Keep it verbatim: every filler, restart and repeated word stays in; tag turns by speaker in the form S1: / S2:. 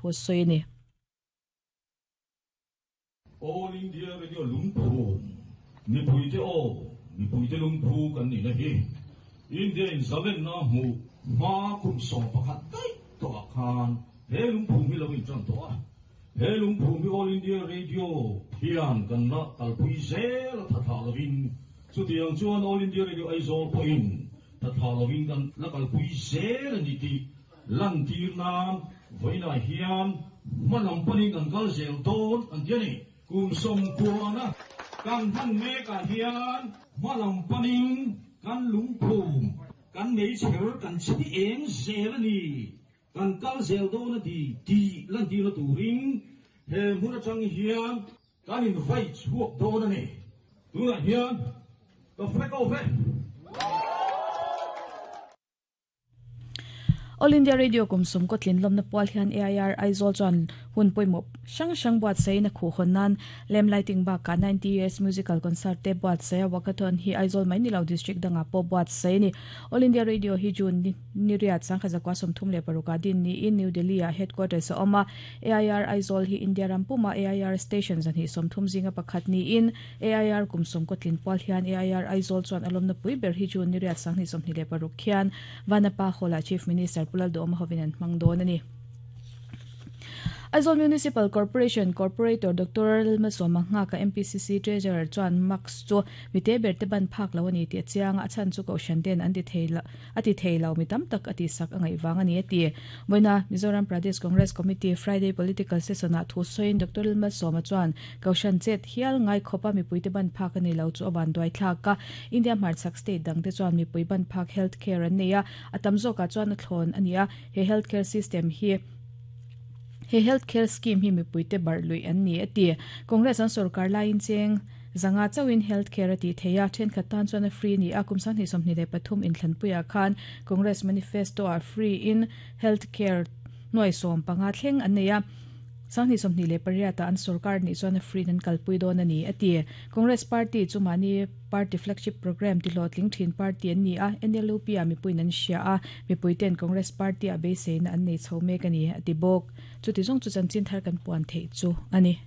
S1: thu sawi ni.
S2: All India Radio lungphum mipuite aw mipuite lungphu kan ni na hi India in zalen na hmu hma kum sawm pakhat daih tawh ah khan he lungphum hi lo in tan tawh a he lungphum hi All India Radio hian kan la kalpui zel a thathlah lovin chutiang chuan All India Radio Aizawl pawhin thathlah lovin kan la kalpui zel a ni tih lantir nan vawiinah hian hmalam panin kan kal zel dawn an ti a ni. Kum sawmkuana kan hman mekah hian hmalam panin kan lungphum kan meichher kan chhi eng zel a ni kan kal zel dawn a ti tih lantirna turin he hmun atang hian kan invai chhuak dawn a ni. Tunah hian ka flag off e.
S1: All India Radio kum sawm kaw tlin lawmna pual hian A I R Aizawl chuan hun pawimawh hrang hrang buatsaih in a khuh hawn nan lamp lighting bakah ninety years musical concert te buatsaih a walkathon hi Aizawl mai ni lo district dangah pawh buatsaih a ni. All India Radio hi June ni riat sangkhat zakua sawmthum leh parukah din niin New Delhi ah headquarters a awm a. A I R Aizawl hi India ram puma A I R station zahnih sawmthum zinga pakhat niin A I R kum sawm kaw tlin pual hian A I R Aizawl chuan a lawmna pui ber hi June ni riat sanghnih sawmhnih leh paruk khian Vanapa Hall-ah Chief Minister Pu Lalduhawma hovin an hmang dawn a ni. Aizawl Municipal Corporation Corporator Doctor Lalmalsawma Nghaka M P C C Treasurer chuan Max chu mite ber te ban phak lo a ni tih a chiang a, a chhan chu Kohhran ten an ti thei lo a ti thei lo mi tam tak a ti sak a ngaih vang a ni a ti. Vawiina Mizoram Pradesh Congress Committee Friday Political Session-ah thu sawiin Doctor Lalmalsawma chuan Kohhran chet hial ngai khawpa mipuite ban phak a ni lo chu a van duai thlak a, India hmarchhak state dangte chuan mipui ban phak health care an nei a, a tam zawkah chuan a thlawn a ni a, he health care system hi he health care scheme hi mipuite barh luih an ni a ti. Congress an sorkar laiin cheng zanga chauhin health care a tih theih a, thenkhat tan chuan a free ni a, kum sanghnih sawmhnih leh pathum inthlanpuiah khan Congress manifesto ah free in health care nuai sawm panga thleng an nei a, sanghnih sawmhnih leh pariatah an sorkar nih chuan a free in an kalpui dawn a ni a ti. Congress party chu mahni party flagship program tihlawhtling thin party an ni a, N L U P ah mipuiin an hria a, mipuiten Congress party ah beiseina an nei chho mek a ni a ti bawk. Chuti zawng chu chanchin thar kan puan theih chu a ni.